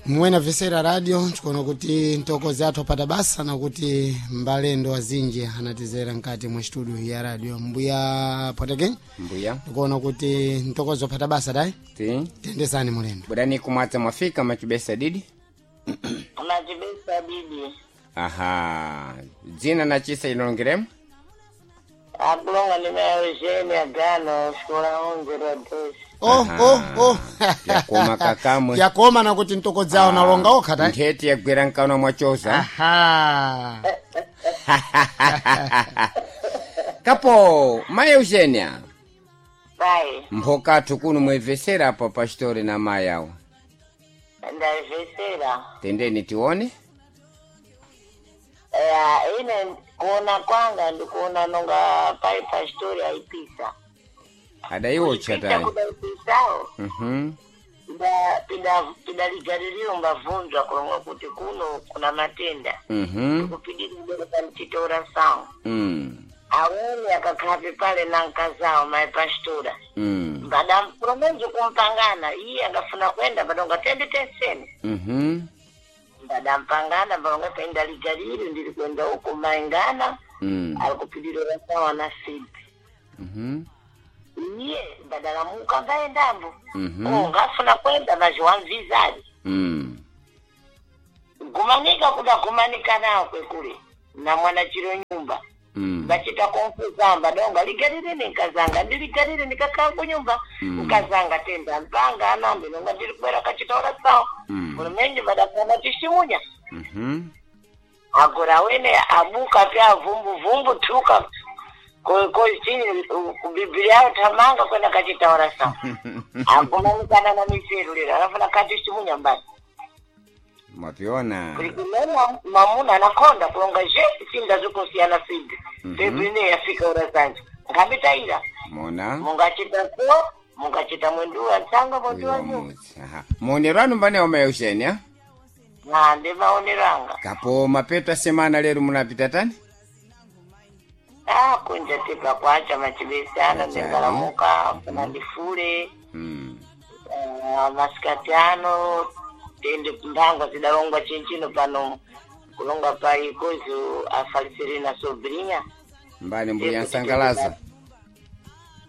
Mwena vesera radio tikuona kuti ntokozi athu apata basa nakuti mbalendo azinji anatizera nkati mwa studio ya radio mbuya potekeni. Mbuya. Tikuona kuti ntokozi wapata basa dai. Ti. Tendesani mulendo. Budani kumwadza mwafika machibesa didi. Machibesa didi. Aha. Dzina na chisa ilongeremo? Akulonga ndi mayo Eugenia Agano, xikola 11 lwa 2. Oh, oh, oh. Yakoma kakamwe. Yakoma nakuti ntokozi awo nalonga okha dai. Ntheti yagwera mkanwa mwachoza. Aha. Kapo, mayi Eugenia. Pai, Mphokathu kuno mwevesera apa pastori na mayi awo. ndayivesera. Tendeni tione. Ya, ine kuona kwanga ndikuona nonga pai pastori aipisa. Adaiwocha Kuipisa tayi. kudaipisawo. Mhm. Pidaligaririro mbavunzwa kulonga kuti kuno kuna matenda. Kupidira pamchitora sawo. Awene akakhapi pale na nkazawo mayi pastora. Mbadampulomenji kumpangana iye angafuna kwenda badonga tende tenseni. Mbadampangana balonga penda ligalili ndili kwenda huko maingana. Alikupidira sawa na sipi. Iye mbadalamuka ngaendambo. Oh, ngafuna kwenda maziwamvizali. Gumanika kuda gumanika nawo kwekule na mwana chiro nyumba. Bachita konfuzamba donga ligalile ninkazanga ndiligalile ndikakhala kunyumba. Nkazanga tenda mpanga anambe nonga ndili kubwera kachitaura sawa. Ulumenji badafuna tishimunya. Agora wene abuka pya vumbuvumbu tuka kochini kubiblia tamanga kwenda kachitaura sawa. Agumanikana na miseru lero anafuna kati shimunya mbali. Mwapiona. Kulikumena mamuna anakonda kulonga je sinda zikosiyana sindi. Pebrine yafika ura zanje. Ngambitaira. Mona. Mungachita ko mungachita mwenduwa tsanga mwenduwa Uyo nyu. mudzi. Aha. Maonero anu mbane wa mayi Eugenia? Na ndi maoneranga. Kapo mapeto a semana lero munapita tani? Ah kunja tipa kwacha machibesana Achani. ndingalamuka kuna ndifule. Masikati ano tende mphangwa zidalongwa chinchino pano kulonga pa ikozo afaliserena sobrinha. Mbani mbuya Nsangalaza.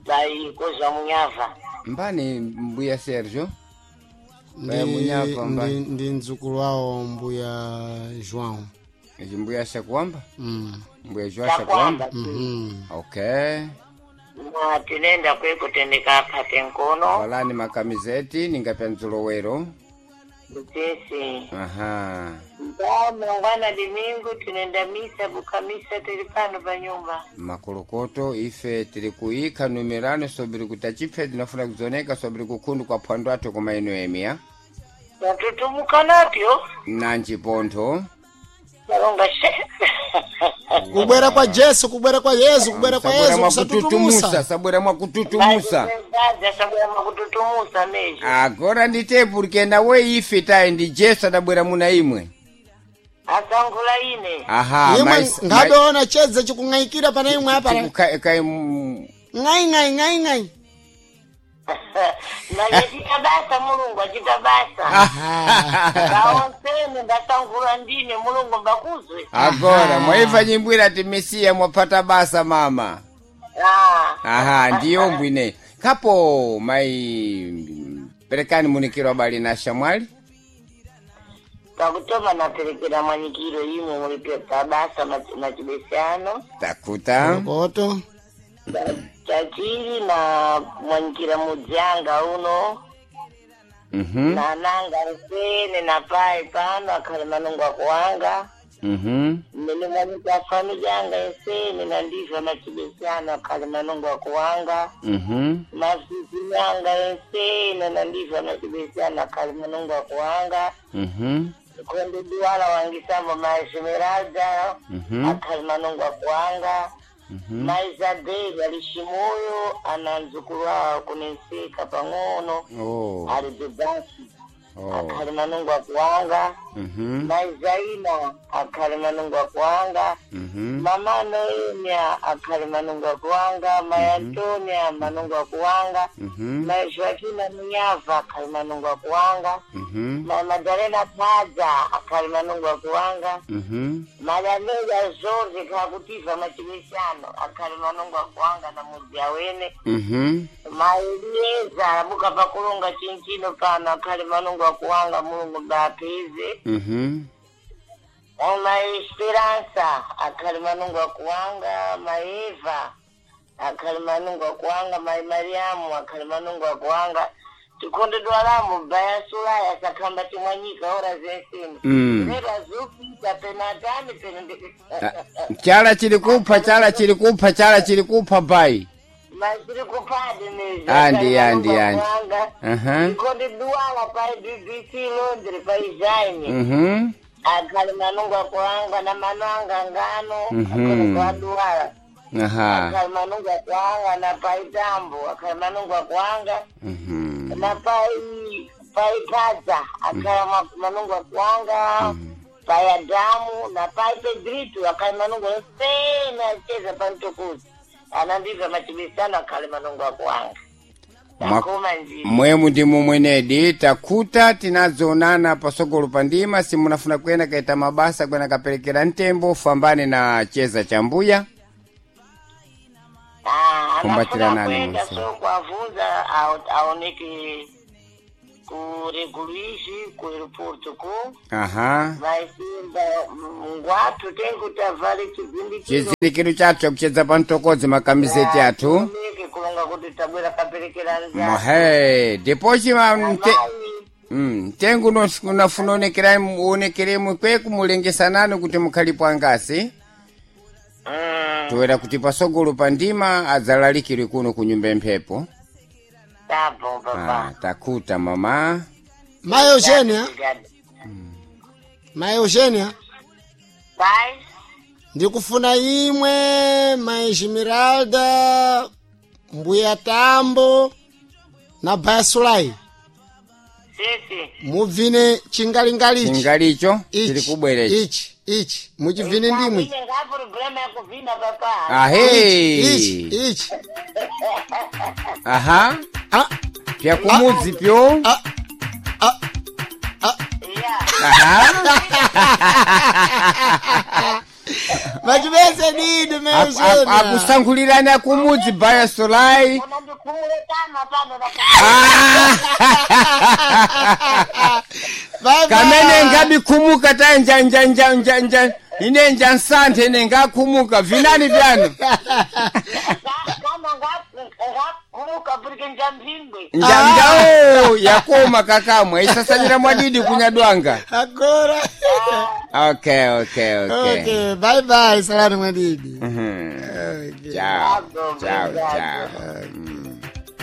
Pa ikozo amunyava. Mbani mbuya Sergio? Ndi, Mbuya Munyava mbani. ndi mdzukulu wawo mbuya João. Ichi mbuya Shakuamba? Mbuya João Chakwamba. Shakuamba? Okay. Na tinenda kweko tendeka aphate nkono. Valani makamizeti ningapya mdzulowero. Tesi. Aha. Nda mangwana dimingu tinenda misa bukamisa tili pano pa nyumba. Makolokoto ife tili kuyikha numerano sobiri kuti achiphe tinafuna kudzoneka sobiri kukhundu kwa phwando athu koma ino emiya. Tatutumuka napyo. Nanji pontho. Talonga she. Kubwera kwa Jesu, kubwera kwa Yesu, kubwera kwa Sabwera Yesu mwakututumusa, kusatutumusa. sabwera mwakututumusa. Sabwera mwakututumusa meji. Agora ndite porque nawe ife tayi ndi Jesu adabwera muna imwe. Asangula ine. Aha, Imwe ngadoona chedza chikung'ayikira pana imwe apa. kai Ng'ai ng'ai ng'ai ng'ai. Nachita basa mulungu achita basa. Kaonsene ndasangula ndine mulungu mbakuzwe. Agora mwaiva nyimbwira ati Mesiya mwapata basa mama. Ah. Aha, ndiyo mbwine. Kapo mai perekani munikiro abali na shamwali. Pakutoma naperekera mwanyikiro imwe mulipe pabasa machibesano. Takuta. Koto. Chachiri na mwanyikira mudzanga uno. Na nanga nsene na pai pano akhale manungu akuwanga. Mmene mwanyika family yanga ensene na ndivyo machibesano akhale manungu akuwanga. Mazizi yanga ensene na ndivyo machibesano akhale manungu akuwanga. Konde duwala wangisambo ma Esmeralda akhale manungu akuwanga. Ma Isabel ali Shimoyo ana mdzukulu wawo kunenseka pang'ono. Oh. Ali Dubasi. Oh. Akhali manungu akuwanga. Mhm. Mai Zaina akhali manungu akuwanga. Mhm. Mama Noemia akhali manungu akuwanga. Mai Antonia manungu akuwanga. Mhm. Mai Joaquina Munyava akhali manungu akuwanga. Mhm. Mai Madalena Padza akhali manungu akuwanga. Mhm. Malameya Jorge kakutiva machimisano akhali manungu akuwanga na mudzi awene. Mhm. Maelieza abuka pakulunga chinchino pano akhali manungu akuwanga, Mulungu bapeze. Mhm. Ma Esperança akhali manungu akuwanga. Maeva akhali manungu akuwanga. Mai Mariamu akhali manungu akuwanga. Tikondedwa lamu baya sulaya sakhamba timwanyika ora zensini. Lero azupita penatani pene. Ah, chala chili kupha, chala chili kupha, chala chili kupha bai. Machiri kupadi nezvo. Andi, andi, andi. Aha. Tikondedwala pai BBC Londres pai Jaime. Mhm. Akhali manungu akuwanga na mano anga ngano. Mhm. Akhali kwaduwala. Aha. Akhali manungu akuwanga na pai tambo akhali manungu akuwanga. Mhm. Na pai padza akhala manungu akuwanga. Pai Adamu na pai Pedrito akhali manungu ensene acheza pantokuzi anandibva machibisano akhali manungu akuwanga. Takoma njira. Mwemu ndi mumwenedi takhuta tinadzonana pasogolo pa ndima. Simunafuna kuyenda kaita mabasa kwena kaperekera mtembo fambane na cheza cha mbuya. Ah, Kumbatira anafuna nani kuenda mwese? so kuavhunza aoneke kureguluishi kuaeroporto ku Aha. vaisimba ngwatu tengutavhale chizindikiro. Chizindikiro chathu chakuchedza pa mtokodzi makamiseti athu. Oneke kulonga kuti tabwera kaperekera nzaa. Mohe depochi ma mtengo unafuna uonekeremu kweku mulengesanani kuti mukhalipo angasi. Toera kuti pasogolo pa ndima adzalalikire kuno ku nyumba emphepo. Tabo papa. Ah, takhuta mama. Mai Eugenia, Mai Eugenia, Pai. ndikufuna imwe Mai Esmeralda, Mbuya Tambo na Baya Sulai Sisi. mubvine chingalingalichi. Chingalicho chili kubwerechi. Ichi ichi muchibvine ndimwe. Ine ngaproblema yakuvhina papa. Ahe. Ichi ichi. Aha. Ah, Pyakumudzi pyo. ah, ah, ah. Ya. Aha. Machibese didi Mai Eugenia. Akusankhulirani akumudzi Baya Solai. Unandikhumule kama pano na Bye bye. Kamene ngabikhumuka ta nja nja nja nja nja ine nja nsanthe ine ngakhumuka vinani vyanu. Kama ngakhumuka purike njamphingwe. Nja nja o yakoma kakamwa isasanyira mwadidi kunyadwanga. Agora. Okay, okay, okay. Okay, bye bye, salani mwadidi. Mhm. Okay. Ciao, ciao, ciao.